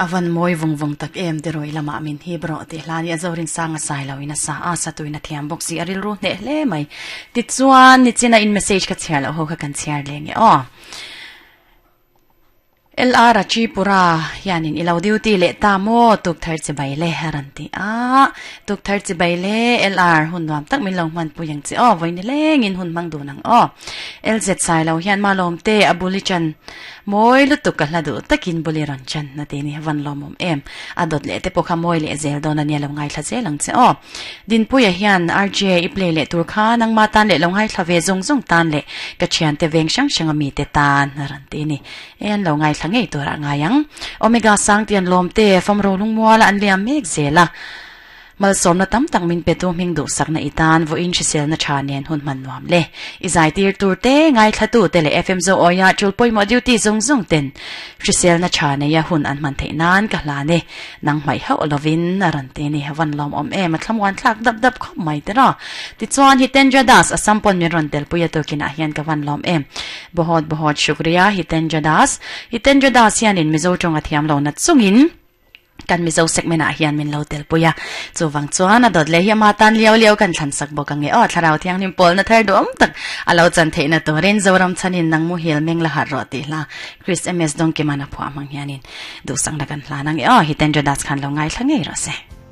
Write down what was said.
A van mawi vung vung tak em ti rawi lamah min hip rawh tih hla nia Zorinsanga sai lo in a sa a, satuin a thiam bawk si a rilru hneh hle mai. Tichuan nichina in message ka chhiar loh ho kha kan chhiar leh nge aw. LR a Tripura hianin i lo duty leh ta maw tuk thar chi bai le a rawn ti a, tuk thar chi bai le LR hun nuam tak min lo hmanpui ang che aw, vawi nilengin hun hmang dun ang aw. LZ sai lo hian malawm te a bul i chan Mawi lutuk ka hla duh takin bul i rawn chan na ti ni van lawmawm em. A dawt leh te pawh kha mawi leh zel dawn a nia lo ngaithla zel ang che aw. Dinpuia hian RJ i play leh tur kha nangma tan leh lo ngaithla ve zawng zawng tan leh ka thiante veng hrang hrang a mite tan a rawn ti ni. E an lo ngaithla ngei turah ngai ang. Omega Sangtian lawmte famro lungmuala an liam mek zel a. Malsawmna tam tak min petu hming duhsakna i tan vawiin hriselna tha nen hun hman nuam le. I zaitir tur te, ngaithlatu te leh FM Zo awia tul pawimawh duty zawng zawng ten hriselna tha neia hun an hman theih nan ka hlan e. Nang hmaih hauh lovin a rawn ti ni. Van lawmawm em, a thlamuan thlak dap dap khawp mai te raw. Tichuan Hitendra Das, Assam pawn min rawn telpui a tukinah hian ka van lawm em. Bohot bohot shukriya Hitendra Das. Hitendra Das hianin Mizo tawng a thiam lo nat chungin, Kan Mizo segment ah hian min lo telpui a, chuvang chuan a dawt leh hi ama tan liau liau kan thlan sak bawk ang e aw, Thlarau Thianghlim pawlna thar duhawm tak a lo chan theihna turin Zoram chhanin nang muhil meng la harh rawh tih hla Chris MS Dawngkiman a phuah hmang hianin duhsakna kan hlan ang e aw, Hitendra Das khan lo ngaithla ngei rawh se.